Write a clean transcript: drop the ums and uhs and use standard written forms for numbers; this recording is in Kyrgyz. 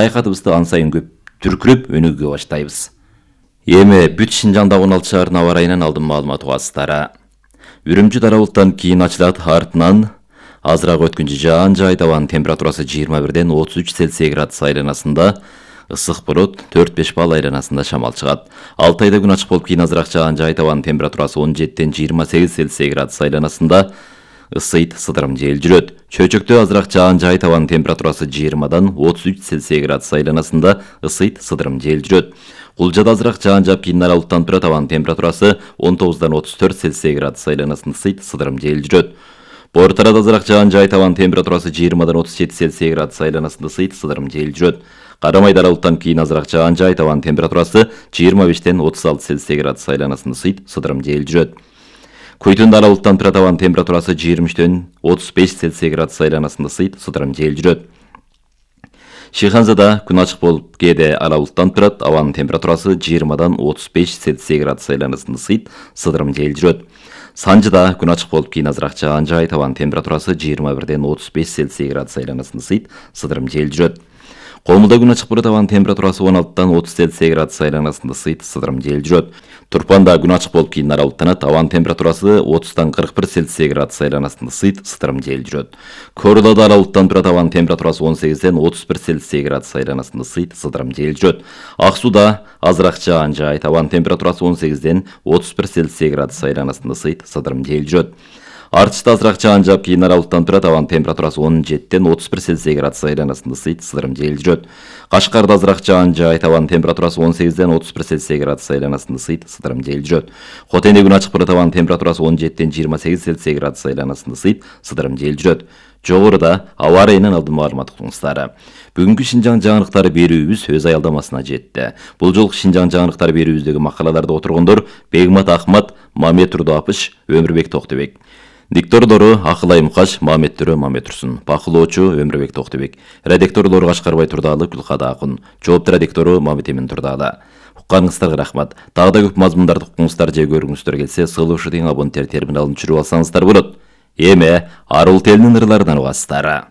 Саякатыбызды ан сайын көп түркүрөп өнүгө баштайбыз. Эми бүт Шинжаңда 16 шаарынын аба ырайынан алдын маалымат угасыздар. Үрүмчү дара булуттан кийин ачылат, артынан азыраак өткүнчө жаан-жай абанын температурасы 21ден 33 Цельсий градус айланасында, ысык болот 4-5 балл айланасында шамал чыгат. Алтайда күн ачык болуп кийин азыраак жаан-жай абанын температурасы 17ден 28 Цельсий градус айланасында, ысыйт, сыдырым жел жүрөт. Чөйчөктө азыраак жаан-жай абанын температурасы 20дан 33 Цельсий градус айланасында, ысыйт, сыдырым жел жүрөт. Кулжада азыраак жаан жаап кийин ара булуттанып турат, абанын температурасы 19дан 34 Цельсий градус айланасында, ысыйт, сыдырым жел жүрөт. Бортарада азыраак жаан-жай абанын температурасы 20дан 37 Цельсий градус айланасында, ысыйт, сыдырым жел жүрөт. Карамайда ара булуттанып кийин азыраак жаан-жай абанын температурасы 25ден 36 Цельсий градус айланасында, ысыйт, сыдырым жел жүрөт. Куйтунда ара булуттанып турат, абанын температурасы 23ден 35 Цельсий градус айланасында, ысыйт, сыдырым жел жүрөт. Шыйханзада күн ачык болуп кээде ара булуттанып турат, абанын температурасы 20дан 35 Цельсий градус айланасында, ысыйт, сыдырым жел жүрөт. Санжыда күн ачык болуп кийин азыраак жаан-жай абанын температурасы 21ден 35 Цельсий градус айланасында, ысыйт, сыдырым жел жүрөт. Комулда күн ачык болот, абанын температурасы 16дан 30 Цельсий градус айланасында, ысыйт, сыдырым жел жүрөт. Турпанда күн ачык болуп кийин ара булуттанат, абанын температурасы 30дан 41 Цельсий градус айланасында, ысыйт, сыдырым жел жүрөт. Корулада ара булуттанып турат, абанын температурасы 18ден 31 Цельсий градус айланасында, ысыйт, сыдырым жел жүрөт. Ак сууда азыраак жаан-жай, абанын температурасы 18ден 31 Цельсий градус айланасында, ысыйт, сыдырым жел жүрөт. Артышта азыраак жаан жаап кийин ара булуттанып турат, абанын температурасы 17ден 31 Цельсий градус айланасында, ысыйт, сыдырым жел жүрөт. Кашкарда азыраак жаан-жай, абанын температурасы 18ден 31 Цельсий градус айланасында, ысыйт, сыдырым жел жүрөт. Хотенде күн ачык болот, абанын температурасы 17ден 28 Цельсий градус айланасында, ысыйт, сыдырым жел жүрөт. Жогоруда аба ырайынан алдын маалымат уктуңуздар. Бүгүнкү Шинжаң жаңылыктары берүүбүз өз аялдамасына жетти. Бул жолку Шинжаң жаңылыктары берүүбүздөгү макалаларды отургондор Бегмат Ахмат, Мамет Турдуапыш, Өмүрбек Токтубек. Диктордору Акылай Мукаш, Мамет Төрө, Мамет Турсун. Бакылоочу Өмүрбек Токтубек. Редакторлору Кашкарбай Турдаалы, Гүлкада Акун. Жоопту редактору Мамет Эмин Турдаалы. Укканыңыздарга рахмат. Дагы да көп мазмундарды укуңуздар же көргүңүздөр келсе, сылыушу деген абоненттер терминалын түшүрүп алсаңыздар болот. Эми Арул телинин ырларынан угасыздар.